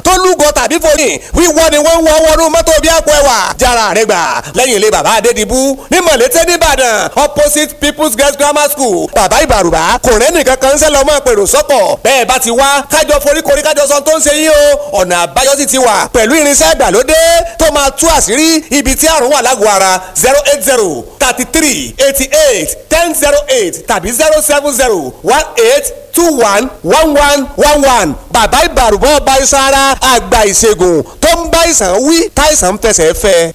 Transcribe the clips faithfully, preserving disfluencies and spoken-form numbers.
tó lúgọ tàbí fòyìn wíwọ́ ni wọ́n ń wọ́ wọnú mọ́tò bí àpò ẹwà jára rẹ gbà lẹ́yìn ilé bàbá Adédìbú ní Mọ̀lété nìbàdàn opposite People's Girls Grammar School bàbá ìbàrùbá kò rẹ́ nìkan kan ń sẹ́ lọ́mọ pèrò sọ́kọ̀ bẹ́ẹ̀ bá ti wá kájọ foríkorí kájọ sọ tó ń ṣe yín o ọ̀nà àbáyọ sì ti wà pẹ̀lú irinṣẹ́ ìgbàlódé tó máa tú àṣírí ibi tí àrùn wà lágọ̀ọ́ ara zero eight zero thirty three eighty eight ten zero eight tàbí zero seven zero one eight two one one one one one bàbá ìbàrùbọ̀ ọba iṣan ara àgbà ìṣègùn tó ń bá ìsàn wí táìsàn ń fẹsẹ̀ fẹ́.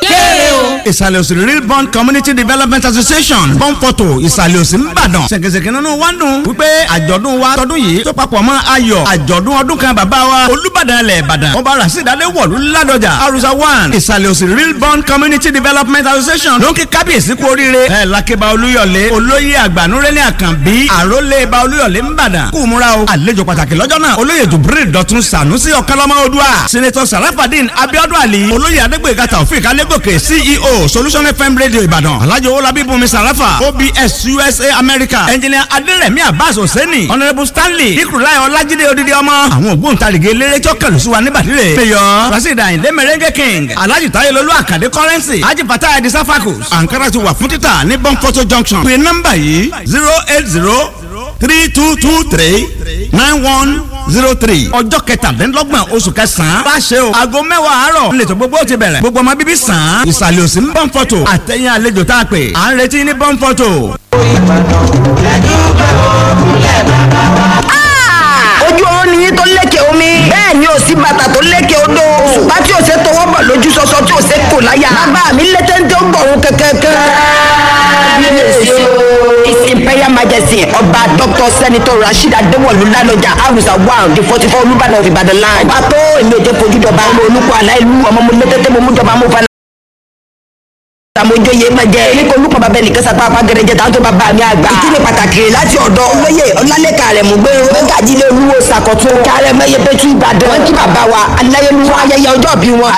Kéré o. Ìsàlẹ̀ òsì Real Bond Community Development Association Bọ́ǹpọ̀tò Ìsàlẹ̀ òsì ńbàdàn. Ṣèkèṣèkè nínú wa ń dùn wípé àjọ̀dún wa tọdún yìí tó papọ̀ mọ́ ayọ̀ àjọ̀dún ọdún kan bàbá wa Olúbàdàn ilẹ̀ Ìbàdàn. Ọba Rasheed Adéwọ̀lú Ládọjà Arusa one Ìsàlẹ̀ òsì Real Bond Community Development Association ló ń kí kábíyèsí kú oríire. Ẹ Lákébá Olúyọ̀lé olóyè àgbànúrẹ́lẹ̀ Àkànbí àrólé ba Olúyọ̀lé ńbàdàn. Kú múra o àlejò pàtàkì lọ́jọ́ náà olóyè Jubril Dọ̀tun Sànúsí Ọ̀kánlọ́mọ Odua Senator Sarafadeen Abiodun Ali olóyè Adégbèga Taofik Alégòkè C E O Solution F M Radio Ìbàdàn Alhaji Owolabi Bùnmi Sarafa O B S U S A America Engineer Aderemi Abbas Hosseini Honourable Stanley Ikurulai Ọlájídé Odidi Ọmọ àwọn ògbóǹtarìgì eléré tí ó kẹlù sí wa níbàdí rè Mayor Rasheed Ayinde Merengue King Alhaji Tayelolu Akande Currency Haji Fatah Edi Safakus Ankara ti wà fún títà ní Bonfoto Junction pé nọ́mbà yìí zero eight zero three two two three nine one zero three ọjọ́ kẹtàdínlọ́gbọ̀n oṣù kẹsàn-án bá ṣe o aago mẹ́wàá àárọ̀ nílẹ̀ tó gbogbo ti bẹ̀rẹ̀ gbogbo ọmọ bíbí sàn án ìsàlẹ̀ òsì ń Bọ́ǹfọ̀tò àtẹ̀yìn àlejò tá a pè à ń retí ní Bọ́ǹfọ̀tò. Ojú oró ni yín tó lékè omi. Bẹ́ẹ̀ ni ò sí bàtà tó lékè odò. Òṣùpá tí ò ṣe tọwọ́ bọ̀ lójú sọsọ tí ò ṣe kò láyà. Bàbá mi lé téńté ó gbọ̀rún kẹ̀kẹ́kẹ́. His Imperial Majesty Ọba Doctor Senator Rasheed Adéwọ̀lú Ládọjà Arusa one the forty four Olúbàdàn of Ìbàdàn land. Ọba tó èmi ò jẹ́ fojú dọba. Ọmọ olùkọ́ aláìlú ọmọ mo lé téńté mo mú jọba mo fa àmójóye máa jẹ ní kò lùkọ́ bàbá ẹnìkan sapá apá gẹrẹjẹ táwọn tó bàbá mi àgbà. Ìkíni pàtàkì láti ọ̀dọ̀ olóyè ọlálẹ́kà rẹ̀ mú gbé mẹ́gàjílẹ̀ olúwo sàkọ̀tún kárẹ̀ mẹ́yẹ pẹ̀tù Ìbàdàn. Wọ́n kí bàbá wa aláyélúwà ayẹyẹ ọjọ́ bí wọn.